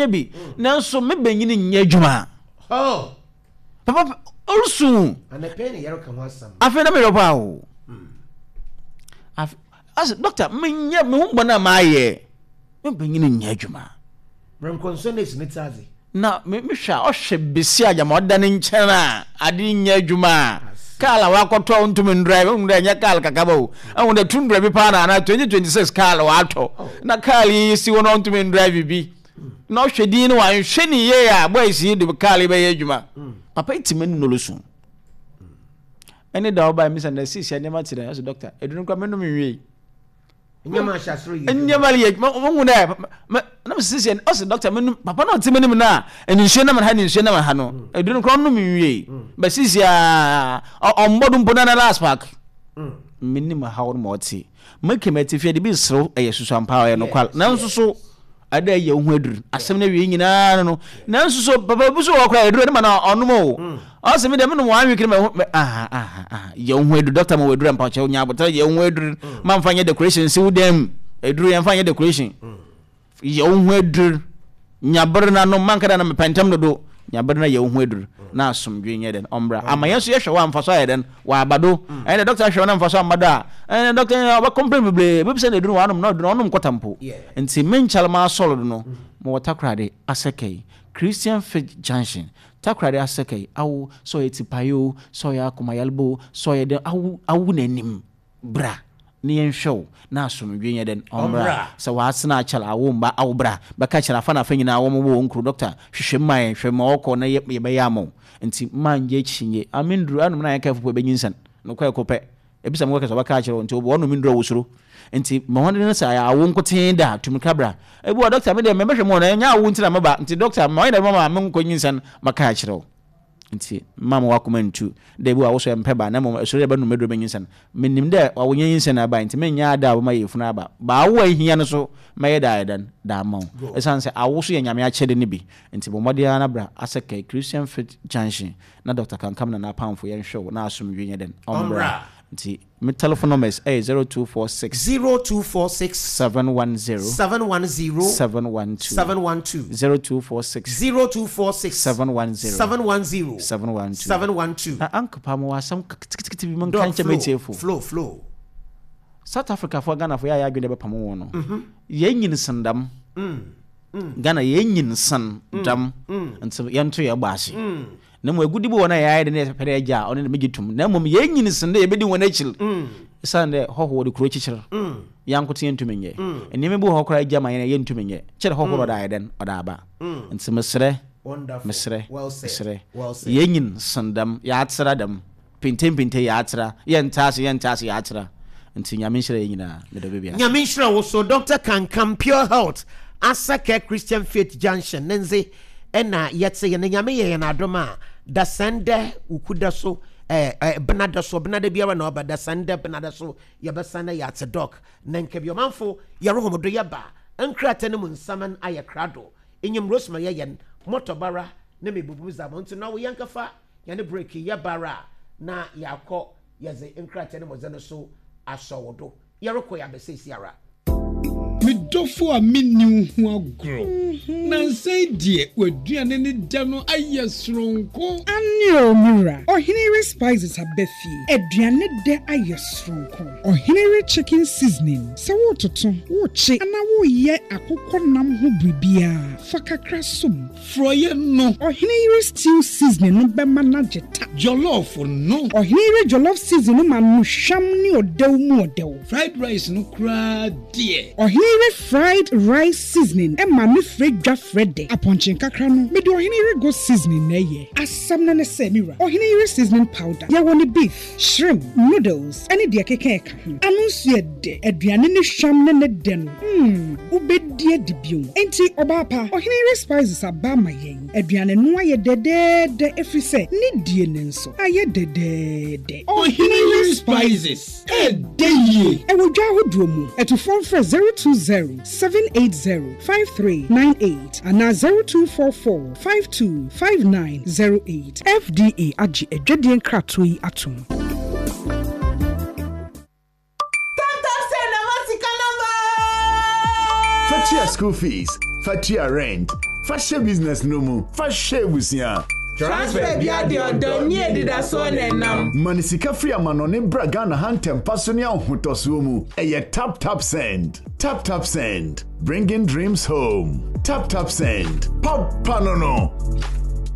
bi nanso me bɛnyini nyɛ adwuma. Papa ɔresu. Afei na meyɛ paa o. Ase dɔkta menyɛ me ho bɔne a mayɛ me bɛnyini nyɛ adwuma. Na mehwɛ a ɔhwɛ besi a gyama ɔda ne nkyɛn a ade nyɛ adwuma a kaal a wakɔtɔ a ɔntumi ndrive ɛhu dɛ ɛnyɛ kaal kakaba o ɛhu dɛ tundra bi paa na anaa 2026 kaal watɔ na kaal yi si hɔ na ɔntumi ndrive bi na ɔhwɛ din no wanhwɛ ne yie a boys yi de kaal yi bɛyɛ adwuma papa yi tumi nnolo so ɛne da ɔbaa mi sɛ na sisi nneɛma te dɛ ɛsɛ dɔkta edunu kora menom nwie nneɛma ahyɛ asoro yɛ nneɛma yɛ adwuma wɔn hu dɛ mɛ na mi sisi ɔsɛ dɔkta mi num papa na ɔte mi nim na nsuo nam ha ne nsuo nam ha no mm. edunu kora ɔnom nwie mm. bɛ sisi a ɔmbɔ do mpo na na last park mi nim ha wɔn ma ɔte mɛ kɛmɛ ti fie de bi serew ɛyɛ susuampa ɔyɛ nokwal nanso so Ada yɛ wo ho aduru. Asɛm no awie nyinaa no no. Nanso so papa bi so wɔ koraa aduru no ma na ɔnom o. Mm. Ɔsɛ me deɛ menom one week no ma ho aha aha aha yɛ wo ho aduru doctor ma wɔ aduru ampa kyɛw nya abotare yɛ wo ho aduru mm. ma mfa nyɛ decoration si wo dan mu. Aduru yɛmfa nyɛ decoration. Mm. Yɛ wo ho aduru. Nya bere na nom manka da na mepɛ ntɛm dodo. Nya bere na yɛ wo ho aduru na asomdwe nyɛ dɛn ɔmbra. Ama yɛn nso yɛhwɛ wɔ amfa so ayɛ dɛn Waba do. Ɛnna dɔkta hwɛ na mfaso amma do a, ɛnna dɔkta yi ɔbɛ complain bebree, ebebisa no eduru wanom na ɔduru ɔnom kɔta mpo. Ntsi me nkyɛr m'asɔr do no, mowɔ Takoradi Asɛkɛyi, Christian Faith Junction, Takoradi Asɛkɛyi, awo, sɛ ɔyɛ tsipae o, sɛ ɔyɛ akoma yarba o, sɛ ɔyɛ dɛn, awo, awo n'enyim bra na yɛnhwɛ wo na asomdwee nyɛ dɛn, ɔmbra. Sɛ wɔatsena akyɛr awo mba, awo bra bɛka kyerɛ afa na afa nyina wɔmobɔ hɔn kuro, dɔkta hwehwɛ mu ma hɛn, hwɛ ma ɔkɔ na yɛbɛyɛ ama wo. Ntsi mma nngye ekyinye. Ah, me ndur, anom na yɛnka efupo ebenyinsɛn. Nokwar kor pɛ. Ebisa me kɛkɛ sɛ ɔbɛka akyerɛ wo, ntsi wɔnom ndur a wosuro. Ntsi ma hɔn no sɛ ayɛ awo nkotsee da a, tu mirika bra. Ebi wɔ hɔ a, dɔkta, me deɛ mebɛhwɛ mu o, na nnyɛ awo ntsi na meba, ntsi dɔkta, ma ɔnyɛ dɛm ma mennkɔ nyinsɛn, mɛka akyerɛ wo. Ntsi mma ma w'akoma nntu dɛ bi wɔ hɔ a wo so emmpɛ ba, na mbom esuro dɛ ebɛnom edur ebenyinsɛn. Minyim dɛ ɔwo nnyɛ nyinsɛn na ebae ntsi mennyɛ ade a ɔbɛma yafunu aba. Ba awo a ihia no so mɛyɛ dɛ ayɛ dɛn dze ama wo. Osian sɛ awo so yɛ Nyame akyɛdze no bi ntsi bɔ mbɔden ara na bra Asɛkɛe Christian Faith Junction na Doctor Kankam na n'apamfo yɛnhwɛ wo na asomdwee nyɛ dɛn ɔmbra. Ntsi me telephone numbers yɛ 0246. 0246. 710. 710. 712. 712. 0246. 0246. 710. 710. 712. 712. Na Uncle pa mowɔ asɛm ketekete bi menka Doc nkyɛ flow, m'atiefo. flow, flow. South Africa foɔ Ghana foɔ yɛ a yɛ adwene dɛ bɛpamo wɔn no. Yɛn nyin sen dɛm. Ghana yɛn nyin sen dɛm. Nti yɛnto yɛn bɔ ase. Na mmom agudi bi wɔ hɔ no a yɛayɛ dɛ na yɛpɛ dɛ yɛgye a, ɔno de megye tom. Na mmom yɛn nyin sen dɛ yɛbɛdi wɔn akyir. Esiane dɛ hɔho wɔde kuro kyekyere, yɛn ankote yɛntumi nyɛ. Nneɛma bi wɔ hɔ koraa egya ma yɛn a yɛntumi nyɛ. Kyerɛ hɔho na ɔde ayɛ dɛn? Ɔde aba. Nti mesrɛ, mesrɛ, mesrɛ, yɛn nyin sen dɛm, yɛatra dɛm. Pintempinte yɛatra, yɛnte ase, yɛnte ase, yɛatra. Nti Nyame nhyira yɛn nyinaa. Meda obi biara ase. Nyame nhyira wo so Doctor Kankam Pure Health Asakɛ Christian Faith Junction ne ndze na yɛtse yɛ na Nyame yɛ yɛn adom a dasɛn dɛ wukuda so eh, eh, benada so benada biara na ɔba dasɛn dɛ benada so yɛbɛsan na yɛatse Doc na nka bi ɔmanfo yɛrohom do yɛba nkrata no mu nsaman ayɛ krado enyim Rosemary yɛ yɛn mɔtɔbara ne mebubum dza mo ntsi na wo yɛnkɛfa hɛn break yɛba ara a na yɛakɔ yɛdze nkrataa no mu dze no so asɔ wo do. Yɛrokɔ yi aba seseiara. Me dɔfo a menni wo ho agorɔ. Nnansa yi deɛ w'aduane ne dɛ no ayɛ soronko. Aane o me wura, Ɔhene yere spices aba fie, aduane dɛ ayɛ soronko. Ɔhene yere chicken seasoning, sɛ woretoto, worekye anaa woreyɛ akokɔ nam ho biribiara, fa kakra som. Frɔeɛ no. Ɔhene yere stew seasoning no bɛma no agye ta. Jollof no. Ɔhene yere jollof seasoning no ma no hwam ne ɔdɛw mu ɔdɛw. Fried rice no koraa deɛ. Ɔhene yere fried rice seasoning ma no frɛ dwa frɛ dɛ. Apɔnkye nkakra no, mede ɔhene yere goat seasoning na ɛyɛ. Asɛm no ne sɛ, me wura, ɔhene yere seasoning powder, yɛwɔ no beef, shrimp, noodles, ne deɛ ɛkeka ɛka ho. Ano nso yɛ dɛ. Aduane no hwam ne ne dɛ no, mm, wobɛdi adi bio. Enti, ɔbaa pa, ɔhene yere spices aba ama yɛn. Aduane no ayɛ dɛdɛɛdɛ ɛfiri sɛ ne die no nso ayɛ dɛdɛɛdɛ. Ɔhene yere spices, ɛɛdɛ yie. Ɛwɔ dwa ahodoɔ mu. Atufoɔ mfrɛ 020 780 5398 anaa 0244 52 5908. FDA agye adwadie nkratoɔ yi atom. Tap tap send na ma sika na ba. Fa tua school fees, fa tua rent. Fa hyɛ business no mu, fa hwɛ abusua. Transfer bia deɛ ɔdɔ ne anidasoɔ na ɛnam. Ma ne sika firi amanɔne bra Ghana ha ntɛmpa so ne ahohotɔsoɔ mu. Ɛyɛ Tap Tap Send. Tap Tap Send, bringing dreams home. Tap Tap Send, papa no no.